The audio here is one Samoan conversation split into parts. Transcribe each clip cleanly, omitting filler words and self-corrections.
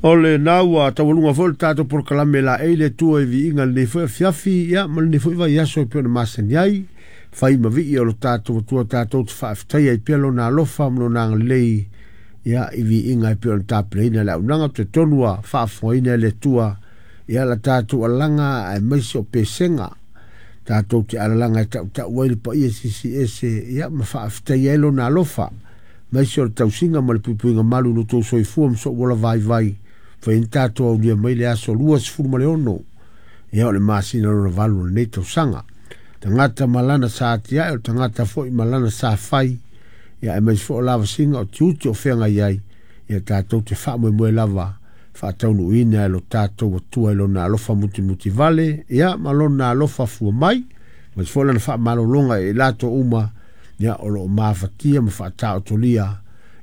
O lena ua taualuga foi le tatou polokalame laei le Atua i viiga i lenei foi afiafi, ia ma lenei foi vaiaso e pei ona masani ai. Fai ma vii o lo tatou Atua tatou te faafetaia ai pea lona alofa ma lona agalelei, ia i viiga e pei ona tapenaina le auaunaga. Ou te talitonu ua faafofogaina e le Atua, ia la tatou alaga aemaise o pesega tatou te alalaga e tautau ai le paia siisiese, ia ma faafetaia ai lona alofa, maise o le tausiga ma le puipuiga malu i lo outou soifua ma sou ola vaivai. Fai ai tatou aulia mai le aso 26, ia o le masina lona valu o lenei tausaga. Tagata ma lana sa atiae, o le tagata foi ma lana sa fai, ia aemaise foi o lavasiga o tiute o feagai ai, ia tatou te faamoemoe lava faataunuuina e lo tatou Atua i lona alofa mutimutivale, ia ma lona alofa fua mai, aemaise foi lana faamalologa e latou uma, ia o lo o mafatia ma faataotolia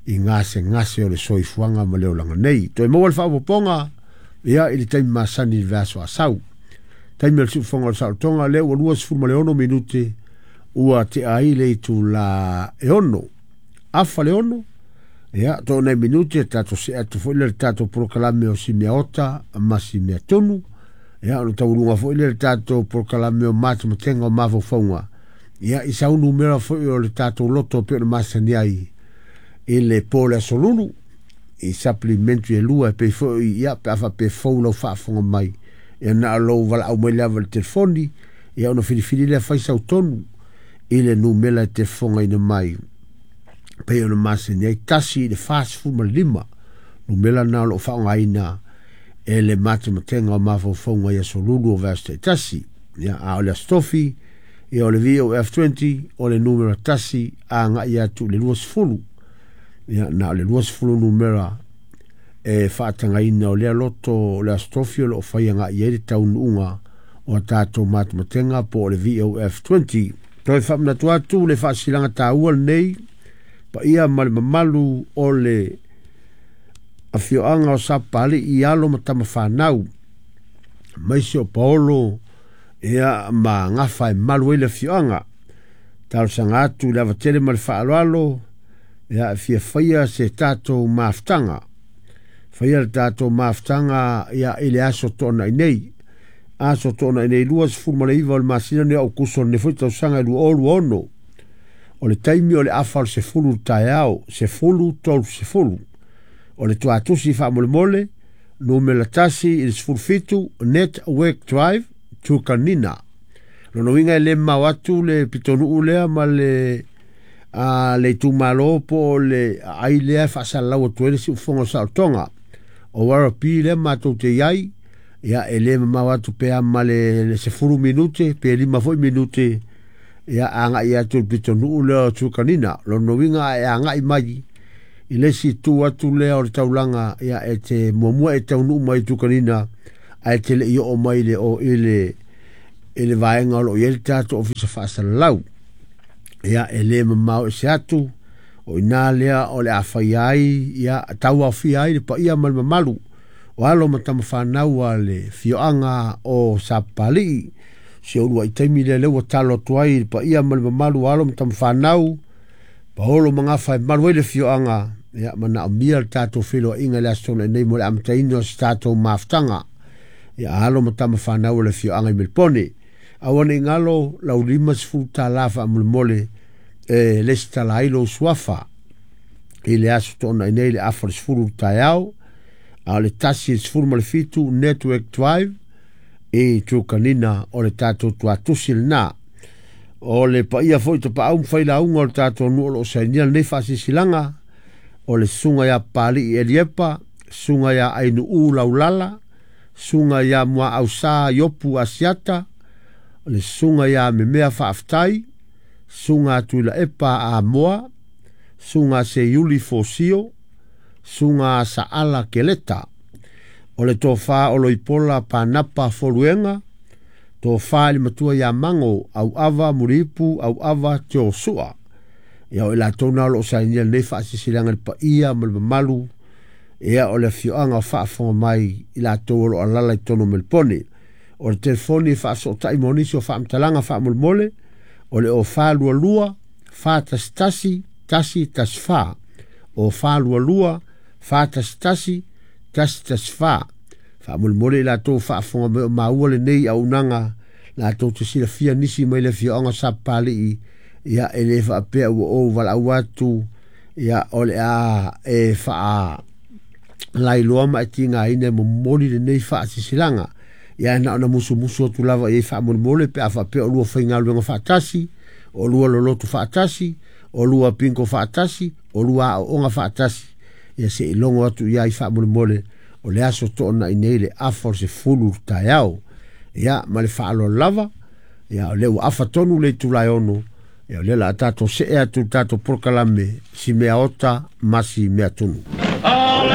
i gasegase o le soifuaga ma le olaga nei. Toe maua le faaopoopoga, ia i le taimi masani i le vaiaso asau. Taimi o le siufofoga o le saolotoga, lea ua 26 minute ua tea ai le itula e 6. Afa le 6, ia to nei minute tatou se atu foi le tatou polokalame o si mea ota ma si mea tonu. Ia ona taualuga foi le tatou polokalame o matematenga o mafaufauga. Ia i sau numera foi o le tatou loto pe ona masani ai i le po le aso Lulu i supplementary e lua e pei foi, ia pe a faapea fou lau faafofoga mai, ia na o lou valaau mai lava i le telefoni, ia ona filifili lea fai sau tonu i le numera e te fofogaina mai pei ona masani ai 1 i le 45 numera na o lo o faaaogaina e le matematega o mafaufauga i aso Lulu o vaiaso taitasi. Ia a o le aso Tofi, ia o le VOF20 o le numera 1 agai atu i le 20. Ia na o le 20 numera e faatagaina o lea loto o le aso Tofi o lo o fai agai ai le taunuuga o tatou matematenga po o le VOF20. Toe faamanatu atu le faasilaga taua lenei paia ma le mamalu o le afioaga o Sapapalii i alo ma tamafanau, maise o Paolo, ia ma gafa e malu ai le afioaga. Talosaga atu le avatele ma le faaaloalo, ia e fia faia se tatou mafutaga. Faia le tatou mafutaga, ia i le aso toonai nei. Aso toonai nei 29 o le masina nei o Aokuso lenei foi tausaga e 2026. O le taimi o le afa o le 10 taeao, 10:30. O le tuatusi faamolemole, numera 1 i le 17, Network Drive, Truganina. Lona uiga e le mamao atu le pitonuu lea ma le le itumalo po o le aai lea e faasalalau atu ai le siufofoga o le saolotoga. O Werribee lea matou te i ai, ia e le mamao atu pe a ma le 10 minute pe 5 foi minute, ia agai atu i le pitonuu lea o Truganina. Lona uiga e agai mai i le isi itu atu lea o le taulaga, ia e te muamua e taunuu mai i Truganina, ae te le i oo mai le o i le vaega o lo o i ai le tatou ofisa faasalalau. Ia e le mamao ese atu, o ina lea o le a fai ai, ia tauaofia ai le paia ma le mamalu o alo ma tamafanau a le fioaga o Sapapalii. Si ou luai taimi lea lea ua talo atu ai le paia ma le mamalu o alo ma tamafanau, Paolo ma gafa e malu ai le fioaga, ia manaomia le tatou feiloaiga i le aso nei mo le amataina o se tatou mafutaga. Ia alo ma tamafanau o le fioaga i Melipone. Aua nei galo lau $50 faamolemole e lesitala ai lou suafa i le aso toonai nei le afa o le 10 taeao, a o le 1 i le 17 Network Drive i Truganina o le tatou tuatusi lena. O le paia foi tapaau ma failauga o le tatou nuu o lo o sainia lenei faasisilaga, o le susuga ia Papalii Eliepa, susuga ia Ainuu Laulala, susuga ia Muaausa Iopu Asiata, le susuga ia Memea Faafetai, susuga Tuilaepa Amoa, susuga Seiuli Fosio, susuga Saala Keleta, o le tofa o Loipola Panapa Foluega, tofa i le matua ia Mango, Auava Mulipu, Auava Teosua. Ia o i latou na o lo o sainia lenei faasisilaga le paia ma le mamalu, ia o le afioaga o faafofoga mai i latou o lo o alala i totonu o Melipone. O le telefoni e faasootai mo nisi o faamatalaga faamolemole, o le 0422 411 114, 0422 411 114. Faamolemole i latou faafofoga mai o maua lenei auaunaga latou te silafia nisi mai le afioaga o Sapapalii. Ia e le faapea ua ou valaau atu, ia o le a e faa lailoa ma e tigaina e momoli lenei faasilasilaga. Ia na ona musumusu atu lava i ai faamolemole pe a faapea o lua faigaluega faatasi, o lua lolotu faatasi, o lua pingo faatasi, o lua aooga faatasi. Ia se i logo atu i ai faamolemole o le aso toonai nei le afa o le 10 taeao. Ia ma le faaaloalo lava, ia o lea ua afa tonu le itula e 6, ia o lea o le a tatou see atu i le tatou polokalame si mea ota ma si mea tunu.